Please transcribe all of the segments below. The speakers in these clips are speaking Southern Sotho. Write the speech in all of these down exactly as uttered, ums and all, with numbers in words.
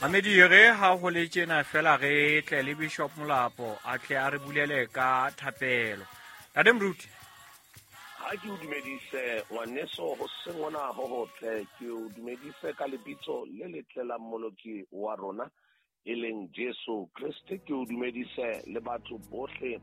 Mamedi re ha ho le tjena fela re tle le Bishop Molapo a tle a re bulele ka thapelo. Ntate Moruti, ha ke o dumedise ngwaneso ho seng hona ho hotle, ke o dumedise ka lebitso le letle la Mmoloki wa rona e leng Jesu Kriste. Ke o dumedise le batho bohle,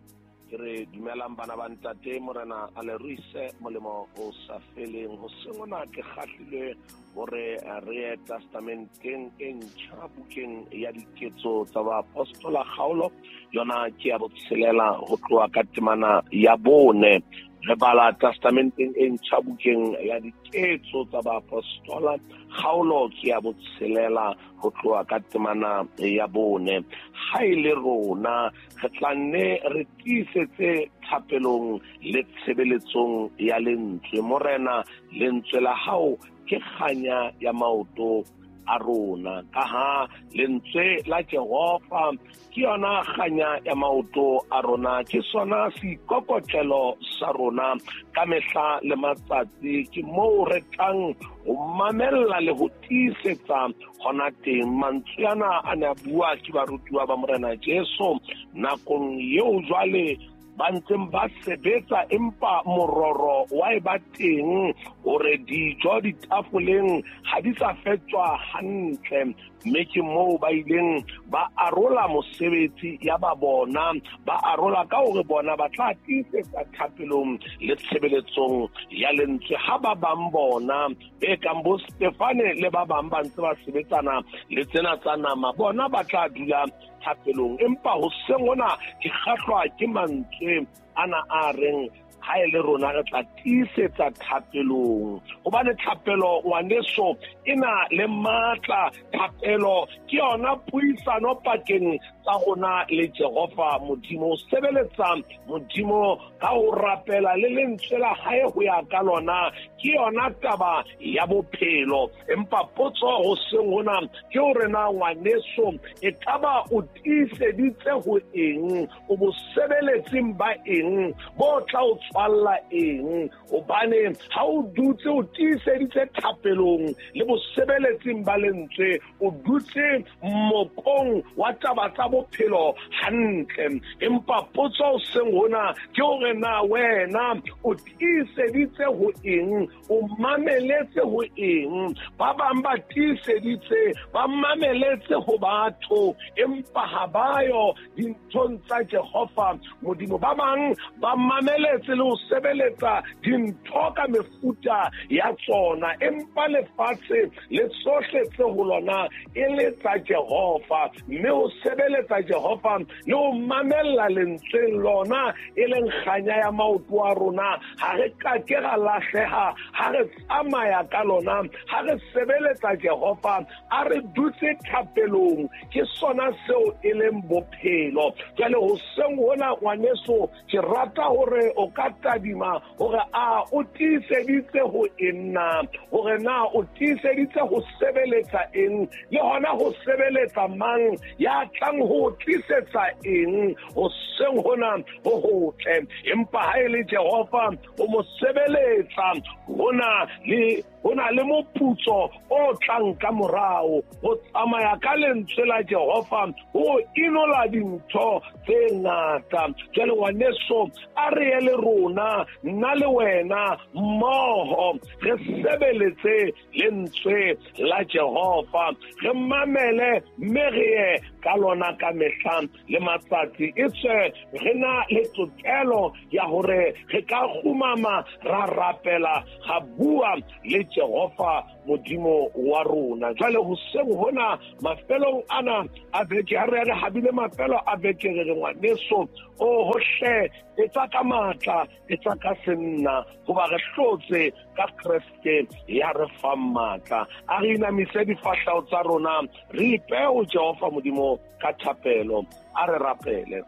ke re dumelang bana ba ntate, Morena a le ruise molemo o sa feleng. Ho seng hona ke kgahlilwe hore re ye testamenteng e ntjha bukeng ya Diketso tsa Baapostola kgaolo yona ke ya botshelela ho tloha ka temana ya bone. Re bala testamenteng e ntjha bukeng ya Diketso tsa Baapostola kgaolo ke ya botshelela ho tloha ka temana ya bone. Ha e le rona re tla nne re tiisetse thapelong le tshebeletsong ya lentswe. Morena, lentswe la hao ke kganya ya maoto a rona, ka ha lentswe la Jehova ke yona kganya ya maoto a rona, ke sona seikokotlelo sa rona ka mehla le matsatsi. Ke moo re tlang ho mamella le ho tiisetsa hona teng. Mantswe ana a ne a bua ke barutuwa ba Morena Jesu nakong eo jwale ba ntseng ba sebetsa, empa mororo wa e ba teng hore dijo ditafoleng ha di sa fetswa hantle, mme ke moo ba ileng ba arola mosebetsi ya ba bona, ba arola ka hore bona ba tla tiisetsa thapelong le tshebeletsong ya lentswe, ha ba bang bona e kang bo Stefane le ba bang ba ntse ba sebetsana le tsena tsa nama, bona ba tla dula thapelong. Empa hoseng hona ke kgahlwa ke mantswe ana a reng ha e le rona re tla tiisetsa thapelong, hobane thapelo ngwaneso e na le matla. Thapelo ke yona puisano pakeng tsa rona le Jehova Modimo. O sebeletsa Modimo ka ho rapela le lentswe la hae ho ya ka lona, ke yona taba ya bophelo. Empa potso hoseng hona ke hore na ngwaneso e kaba o tiiseditse ho eng, o bo sebeletseng ba eng bo tla o tswalla eng? Hobane ha o dutse o tiiseditse thapelong le bosebeletsing ba lentswe, o dutse mokong wa taba tsa bophelo hantle. Empa potso hoseng hona ke hore na wena o tiiseditse ho eng, o mameletse ho eng? Ba bang ba tiiseditse, ba mameletse ho batho, empa ha ba yo dinthong tsa Jehova Modimo. Ba bang ba mameletse le ho sebeletsa dintho ka mefuta ya tsona, empa lefatshe le tsohle tse ho lona e le tsa Jehova. Mme ho sebeletsa Jehova le ho mamella lentsweng lona e leng kganya ya maoto a rona, ha re ka ke ra lahleha ha re tsamaya ka lona, ha re sebeletsa Jehova, a re dutse thapelong, ke sona seo e leng bophelo. Jwale hoseng hona ngwaneso, ke rata hore o ka tadima hore a o tiiseditse ho eng na, hore na o tiiseditse ho sebeletsa eng, le hona ho sebeletsa mang ya tlang ho tlisetsa eng hoseng hona ho hotle. Empa ha e le Jehova o mo sebeletsa, hona le hona le moputso o tlang ka morao. Ho tsamaya ka lentswe la Jehova ho inola dintho tse ngata. Jwale ngwaneso, a re ye le rona, nna le wena mmoho, re sebeletse lentswe la Jehova, re mamele mme re ye ka lona ka mehla le matsatsi. Etswe re na le tokelo ya hore re ka kgumama ra rapela, ra bua le Jehova Modimo wa rona. Jwale hoseng hona mafelong ana a beke, ha re re habile mafelo a beke, re re ngwaneso, o hohle etsa ka matla, etsa ka senna, hoba re hlotse ka Kreste ya re fang matla. A re inamise difahleho tsa rona, re ipehe ho Jehova Modimo ka thapelo. A re rapele.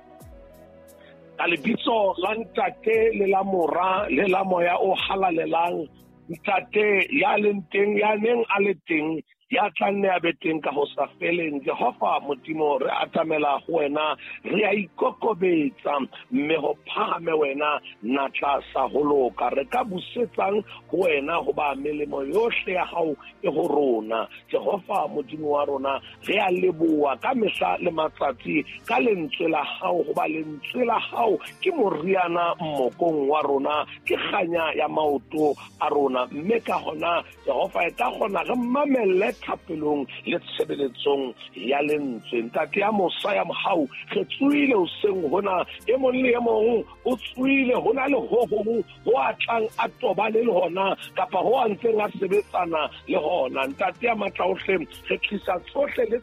Ka lebitso la Ntate le la Mora le la Moya o Halalelang, Ntate ya leng teng, ya neng a le teng, Ya tla nne a be teng ka ho sa feleng. Jehova Modimo, re atamela ho wena, re a ikokobetsa, mme ho phahame wena natla sa ho loka. Re ka busetsang ho wena hoba melemo yohle ya hao e ho rona. Jehova Modimo wa rona, re a leboha ka mehla le matsatsi ka lentswe la hao, hoba lentswe la hao ke moriana mmokong wa rona, ke kganya ya maoto a rona. Mme ka hona Jehova e ka kgona re mamelle thapelong le tshebeletsong ya lentswe. Ntate ya mosa ya mohau, re tsoile hoseng hona, e mong le e mong o tsoile hona le ho hong ho a tlang a tobane le hona kapa ho a ntseng a sebetsana le hona. Ntate ya matla ohle, re tlisa tsohle le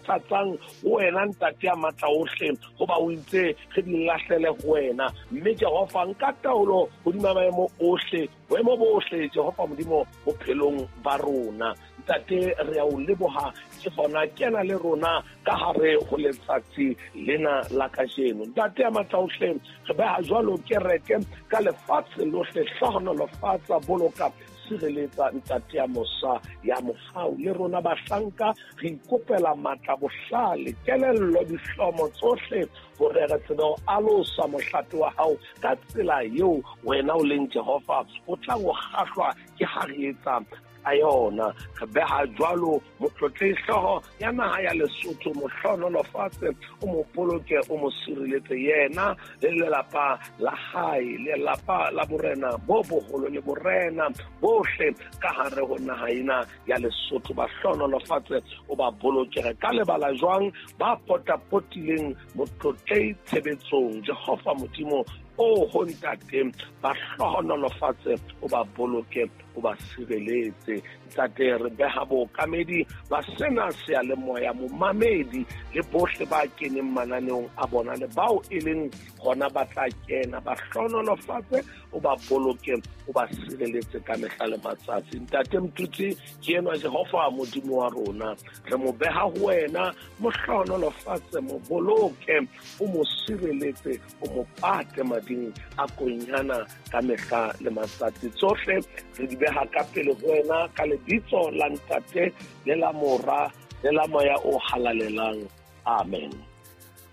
tsatsang ho wena Ntate ya matla ohle, hoba o itse re di lahlele ho wena. Mme Jehova, nka taolo hodima maemo ohle, boemo bohle Jehova Modimo bophelong ba rona. Ntate, re a o leboha ke hona kena le rona ka hare ho letsatsi lena la kajeno. Ntate ya matla ohle, re beha jwalo kereke ka lefatshe lohle, hlohonolofatsa, boloka, sireletsa Ntate ya mosa ya mohau. Le rona bahlanka re ikopela matla, bohlale, kelello, dihlomo tsohle hore re tsebe ho alosa mohlape wa hao ka tsela eo wena o leng Jehova o tlang ho kgahlwa ke ha re etsa ka yona. Re beha jwalo motlotlehi hlooho ya naha ya Lesotho, mo hlohonolofatse, o mo boloke, o mo sireletse yena le lelapa la hae, lelapa la borena bo boholo le borena bohle ka hare ho naha ena ya Lesotho. Ba hlohonolofatse, o ba boloke. Re ka lebala jwang ba potapotileng motlotlehi tshebetsong? Jehova Modimo o ho Ntate, ba hlohonolofatse, o ba boloke, o ba sireletse. Ntate, re beha bookamedi ba sena seyalemoya, momamedi le bohle ba keneng mananeong a bona le bao e leng hona ba tla kena, ba hlohonolofatse, o ba boloke, o ba sireletse ka mehla le matsatsi. Ntate Mtutsi ke enwa Jehova Modimo wa rona, re mo beha ho wena, mo hlohonolofatse, mo boloke, o mo sireletse, o mo pate mading a konyana ka mehla le matsatsi. Tsohle re di beha ka pele ho wena ka lebitso la Ntate le la Mora le la Moya o Halalelang. Amen.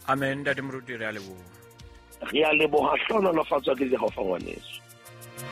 Amen. Ntate Moruti, re a leboha. Re a leboha, hlohonolofatswa ke Jehova ngwaneso.